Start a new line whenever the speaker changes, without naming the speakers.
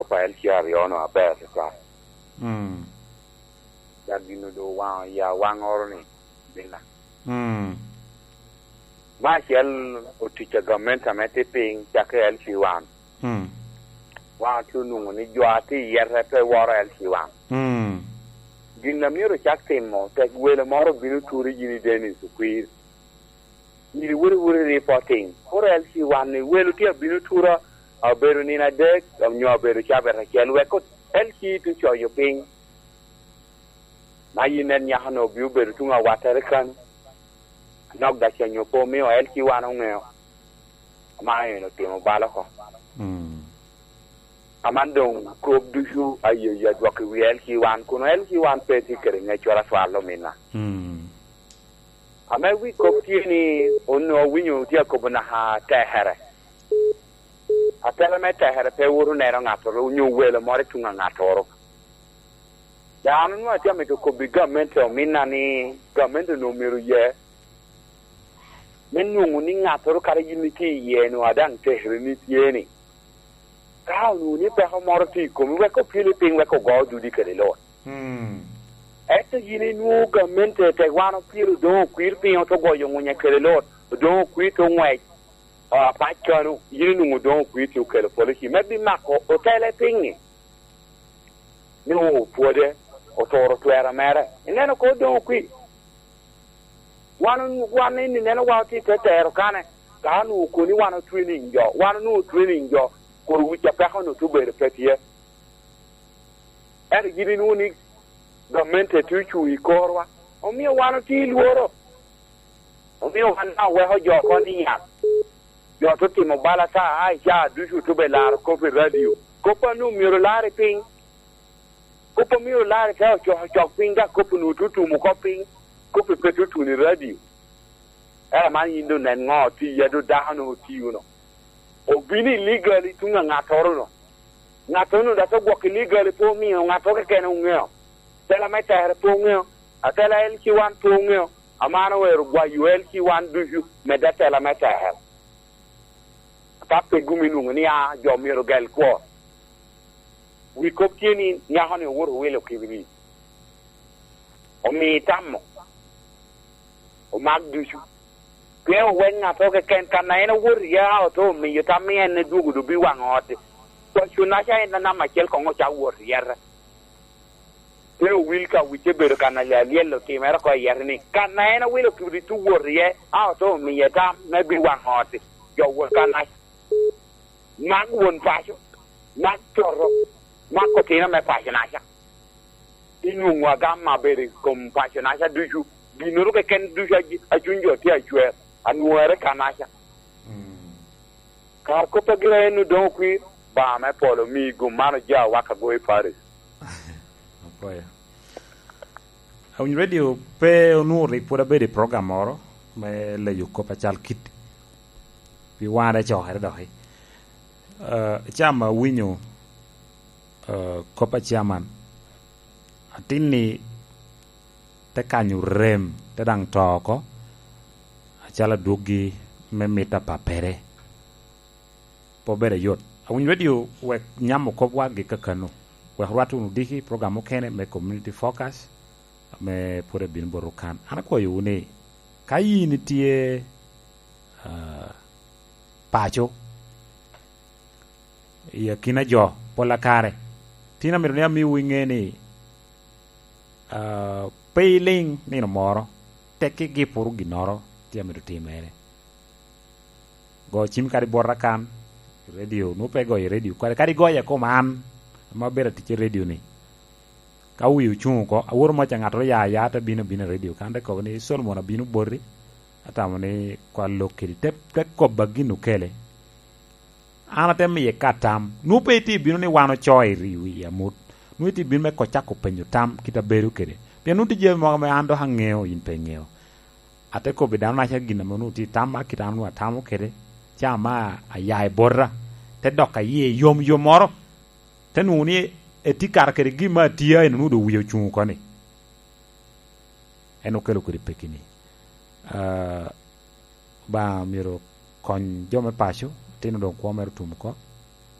pa LC aryo no aber tutwal. Dok gin dong owango i awangoro ni bina. Me acel otic a gamente ame tye piny cakke LC one. Wan watye onongo ni jo a tye iyete pe woro LC one. Gin na myero ocak timo tek welo moro obino turi gin i Dennis Okwir. Myero iwot iwot i reporting. Koro LC one ni welo tye abino tura obedo nino adek nyo obedo cabit acel wek LC te coyo piny. Ma in nen nyako ni obi obedo tung awattere kanu. Anok da cenyo pe omiyo LC one ongeo. Man eni otimo bal oko. Aman dong kop ducu aye adwoko i wi LC one kun LC one pe tye kwede ngec twatwal ominna. Ame wi kop tye ni onongo awinyo tye akobo naka tekere. Atela me tekere pe woto neno ngatoro nyo welo moro i tung angatoro. Dano nongo atye amito kobo i gamente ominna ni gamente onongo myero oye me nongo ni ngatoro kadi in itye iye nongo adang tekere ni tye ni. Ka onongo ni peko moro tye i komi wek opyeli piny wek ogo dudi kede lut. Ento in inwongo gamente tek wan opyelo odong okwir piny oto goyo ngwinye kede lut odong okwir to ngwec apac kanu in inwongo odong okwir ci okelo polici me bimako otele piny-ngi ni opwode oturo twero mere. Ineno ko odong okwir wan wan eni neno wa tye ite tero kane ka onongo koni wan otwening jo wan onongo otwening jo kor wic apeko onongo tye obedo pe tye. Ento gin inwongo ni gamente tye ocung i korwa, omiyo wan otye i lworo. Omiyo wan ma weko jo oko ni yat, jo to timo bal ata a i caa ducu to be laro kop i radio. Kop anu myero olar i piny. Kop a myero olar i te ocok ocok piny ka kop onongo tye otum oko piny, kopi pe tye otun i radio. Ento man in dong nen ngo tye iye do dako nongo otiyo no. Obino illegally tung angatoro no. Ngat onongo dok ogwoko illegally pe omiyo ngat mo keken ongeo. Tela me tere pe ongeo. Atela LC1 pe ongeo. Amano owero gwayo LC1 ducu medde atela me tere. Ka pe gum ilwongo ni a jo myero ogel kwo. Wi kop tye ni nyako ni owoto owilo kibiric. Omi tammo. Omak ducu. Pien owek ngat mo keken ka ma en owoto iye a oto omiyo tam ni en edwogo dong biwango ot-ti. Paco naca en namba acel kong ocak wot iyete. Pe owil ka wicce bedo ka na lyel otimere oko iyete ni ka ma en owilo kibrit owot iye a oto omiye tam me biwango ot-ti. Jo wot ka naca. Mak won paco, mak coto, mak otino me paco naca. Inwongo agam ma bedo i kom paco naca ducu. Ginoro keken ducu a cwiny jo tye acwer, anwere ka naca. Kar koppa gira en odong okwir, Banga me polo omiyi gum man oja waka goyo Paris.
Apoyo. Awinyo radio pe onwongo rik pwod abedo i program moro me leyo kop acal kit pi wan ecokere doki. Uh, ca ma awinyo uh, kop pa chairman atin ni te kanyo rem te dang to oko acalo adwogi me mita pa pere pe obedo ayot. Awiny radio wek nyamo kop wa gi kakanu wek rwate wunu diki program mukene me community focus me pwod ebino bot kan. An akwayo wu ni ka in itye uh, paco i akina jo pola kare tin amito ni amiwu inge ni Pe iling nino moro, tekki gipuru ginoro tye amito timere. Go cim kadi bota kan i radio, nwo pe igoyo i radio kadi kadi igoya i kom an ma abedo atic i radio ni. Ka wiya ocung oko, awoto mo ca ngat oya aya te bino abina i radio kan te kobo ni Solomon abino boti atamo ni kwa lok kedi te te koba gin okele. An ate miye ka tam. Nwo pe itye bino ni wan oco i wi amut. Nwo itye bino me kocako penyo tam kit abedo kede. Pien nwo tye jami mogo ma an dok angeo in pe ingeo. Ate kobi dano naca gin ma nwo tye i tamma kit an nwo atamo kede ca ma aya i bota te dok aye yom yom moro te nwo ni etye kara kede gin ma atiya eni nwo dong wiye ocung oko ni en okelo kede peki ni. Lubanga myero okony jo me paco, latin odong kwo mere otum oko.